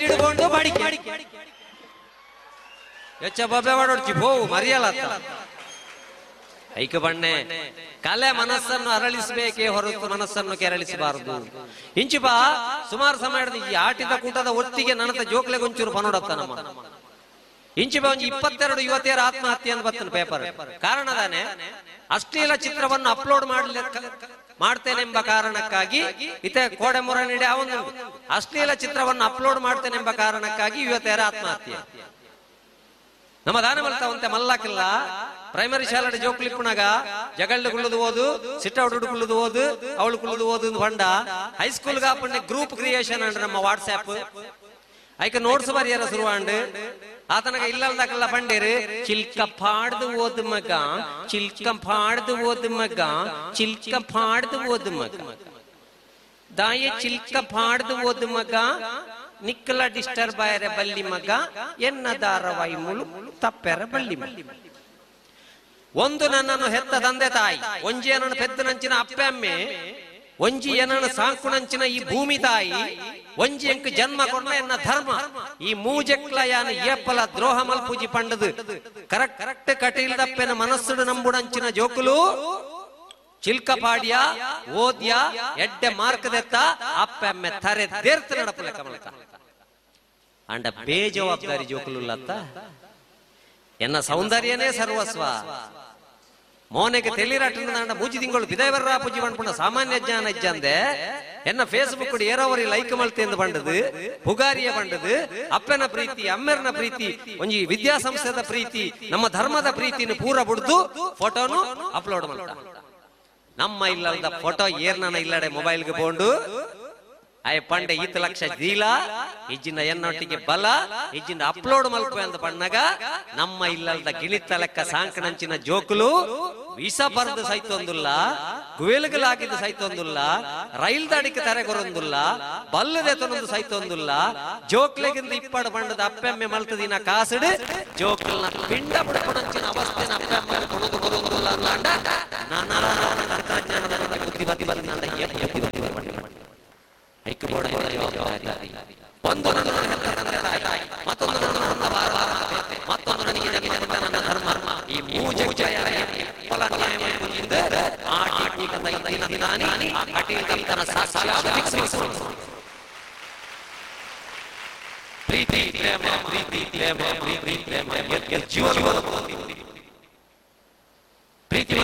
ಅಂಗಿಡ್ಕೊಂಡು ಬಡಿಕೆ ಹೆಚ್ಚ ಬೊಬ್ಬೆ ಮಾಡೋಡ್ಚಿ ಹೋವು ಮರಿಯಲ್ಲ. ಐಕ ಬಣ್ಣೆ ಕಲೆ ಮನಸ್ಸನ್ನು ಅರಳಿಸಬೇಕೇ ಹೊರತು ಮನಸ್ಸನ್ನು ಕೆರಳಿಸಬಾರದು. ಇಂಚಿಪ ಸುಮಾರು ಸಮಯ ಈ ಆಟಿದ ಕೂಟದ ಒತ್ತಿಗೆ ನನತ ಜೋಕ್ಲೆ ಗೊಂಚೂರು ಪನೋಡತ್ತ ನಮ್ಮ ಇಂಚಿಪ ಒಂಜಿ 22 ಯುವತಿಯರ ಆತ್ಮಹತ್ಯೆ ಅಂತ ಬರ್ತನ ಪೇಪರ್. ಕಾರಣ ತಾನೆ ಅಶ್ಲೀಲ ಚಿತ್ರವನ್ನು ಅಪ್ಲೋಡ್ ಮಾಡ್ತೇನೆಂಬ ಕಾರಣಕ್ಕಾಗಿ ಇತ ಕೋಡೆ ಮೊರ ನೀಡಿ ಅವನು ಅಶ್ಲೀಲ ಚಿತ್ರವನ್ನು ಅಪ್ಲೋಡ್ ಮಾಡ್ತೇನೆಂಬ ಕಾರಣಕ್ಕಾಗಿ ಯುವತಿಯರ ಆತ್ಮಹತ್ಯೆ. ನಮ್ಮ ದಾನ ಮಲ್ತಾವಂತೆ ಮಲ್ಲಾಕಿಲ್ಲ ಪ್ರೈಮರಿ ಶಾಲೆ ಜೋಕ್ಲಿಪ್ಪುನಾಗ ಜಗಳ್ಳು ಕುಳ್ಳುದು ಓದು, ಸಿಟ್ಟೌಡು ಕುಳ್ಳುದು ಓದು, ಅವಳು ಕುಳ್ಳುದು ಓದು ಬಂಡ ಹೈಸ್ಕೂಲ್ ಗಾಪಣ್ಣೆ ಗ್ರೂಪ್ ಕ್ರಿಯೇಷನ್ ಅಂಡ್ ನಮ್ಮ ವಾಟ್ಸ್ಆಪ್ ಐಕ ನೋಟ್ಸ್ ಬರಿಯರ ಶುರುವಾಂಡು ಆತನಗ ಇಲ್ಲಲ್ದಕಲ್ಲ ಪಂಡೇರು ಚಿಲ್ಕ ಪಾಡ್ದು ಓದು ಮಗ, ಚಿಲ್ಕ ಪಾಡ್ದು ಓದು ಮಗ, ಚಿಲ್ಕ ಪಾಡ್ದು ಓದು ಮಗ, ದಾಯೆ ಚಿಲ್ಕ ಪಾಡ್ದು ಓದು ಮಗ, ನಿಕ್ಕಲ ಡಿಸ್ಟರ್ಬ್ ಆಯರೆ ಬಲ್ಲಿ ಮಗ, ಎನ್ನ ದಾರವಾಯಿ ಮುಳು ತಪ್ಪೆರ ಬಲ್ಲಿ ಮಗ. ಒಂದು ನನ್ನನ್ನು ಹೆತ್ತ ತಂದೆ ತಾಯಿ, ಒಂಜಿ ಏನನ್ನು ಪೆದ್ದನಂಚಿನ ಅಪ್ಪೆ ಅಮ್ಮೆ, ಒಂಜಿ ಏನನ್ನು ಸಾಂಕುಣಂಚಿನ ಈ ಭೂಮಿ ತಾಯಿ, ಒಂಜಿ ಎಂಕ್ ಜನ್ಮ ಕೊಡ್ನ ಎನ್ನ ಧರ್ಮ, ಈ ಮೂಜೆಕ್ಲ ಯಾನ ಏಪಲ ದ್ರೋಹ ಮಲ್ಪೂಜಿ ಪಂಡದು ಕರೆಕ್ಟ್ ಕರೆಕ್ಟ್ ಕಟೀಲ್ದಪ್ಪೆನ ಮನಸ್ಸುಡು ನಂಬುಡಂಚಿನ ಜೋಕುಲು ಚಿಲ್ಕಪಾಡ್ಯ ಓದ್ಯ ಎಡ್ಡೆ ಮಾರ್ಕದೆತ್ತ ಅಪ್ಪೆ ಅಮ್ಮೆ ತರೆ ದೇರ್ತ ನಡಪುಲೆ ಕಮಲಕ ಅಂಡ ಬೇಜವಾಬ್ದಾರಿ ಜೋಕುಲುಲ್ಲತ್ತ ಎನ್ನ ಸೌಂದರ್ಯನೇ ಸರ್ವಸ್ವ. ಮೋನೆಗೆ ತೆಲಿರಾಟ ಮೂಜಿ ತಿಂಗಳು ಬಿದಾಯವರ ಪೂಜಿ ಪಂಡ್ಪುಣ ಸಾಮಾನ್ಯ ಜ್ಞಾನ ಇಜ್ಜಂದೆ ಎನ್ನ ಫೇಸ್ಬುಕ್ ಏರೋವರಿ ಲೈಕ್ ಮಲ್ತೆ ಎಂದು ಬಂಡದು, ಪುಗಾರಿಯ ಬಂಡದು, ಅಪ್ಪನ ಪ್ರೀತಿ, ಅಮ್ಮೆರ್ನ ಪ್ರೀತಿ, ಒಂಜಿ ವಿದ್ಯಾಸಂಸ್ಥೆದ ಪ್ರೀತಿ, ನಮ್ಮ ಧರ್ಮದ ಪ್ರೀತಿನ ಪೂರ ಬುಡ್ದು ಫೋಟೋನು ಅಪ್ಲೋಡ್ ಮಾಡ್ತ. ನಮ್ಮ ಇಲ್ಲದ ಫೋಟೋ ಏರ್ನ ಇಲ್ಲಡೆ ಮೊಬೈಲ್ಗೆ ಬೋಂಡು ಆಯ್ ಪಂಡೆ ಈತ ಲಕ್ಷ ದೀಲ ಇಜ್ಜಿನ ಎನ್ನೊಟ್ಟಿಗೆ ಬಲ ಇಜ್ಜಿನ ಅಪ್ಲೋಡ್ ಮಲ್ಪೆ ಅಂತ ಪಣ್ಣಗ ನಮ್ಮ ಇಲ್ಲದ ಗಿಳಿತ ಲೆಕ್ಕ ಸಾಂಕಣಂಚಿನ ಜೋಕುಲು ವಿಷ ಬರೆದು ಸೈತೊಂದುಲ್ಲ, ಗುವೆಲ್ಗಲಾಗಿದ್ದು ಸೈತೊಂದುಲ್ಲ, ರೈಲ್ ದಾಡಿಗೆ ತರೆಗೊರೊಂದುಲ್ಲ, ಬಲ್ಲದೆತನೊಂದು ಸೈತೊಂದುಲ್ಲ, ಜೋಕ್ಲೆಗಿಂದ ಇಪ್ಪಡು ಬಂಡದ ಅಪ್ಪೆಮ್ಮೆ ಮಲ್ತದಿನ ಕಾಸುಡು ಜೋಕ್ಲನ ಪಿಂಡ ಬುಡಪಣಂಚಿನ ಅವಸ್ಥೆನ ಅಪ್ಪೆಮ್ಮೆ ಕೊಣದು ಕೊರೊಂದುಲ್ಲ ಅಂಡ ನಾನಾ ತಂತ್ರಜ್ಞಾನದ ಬುದ್ಧಿ ಬುದ್ಧಿ ಬಂದ ಒಂದು ಮತ್ತೊಂದು ಮತ್ತೊಂದು ನನಗೆ ನನ್ನ ಧರ್ಮ ಈ ಪ್ರೀತಿ ಪ್ರೇಮ ಪ್ರೀತಿ ಪ್ರೇಮ ಪ್ರೀತಿ ಪ್ರೇಮ ಜೀವನ ಪ್ರೀತಿ.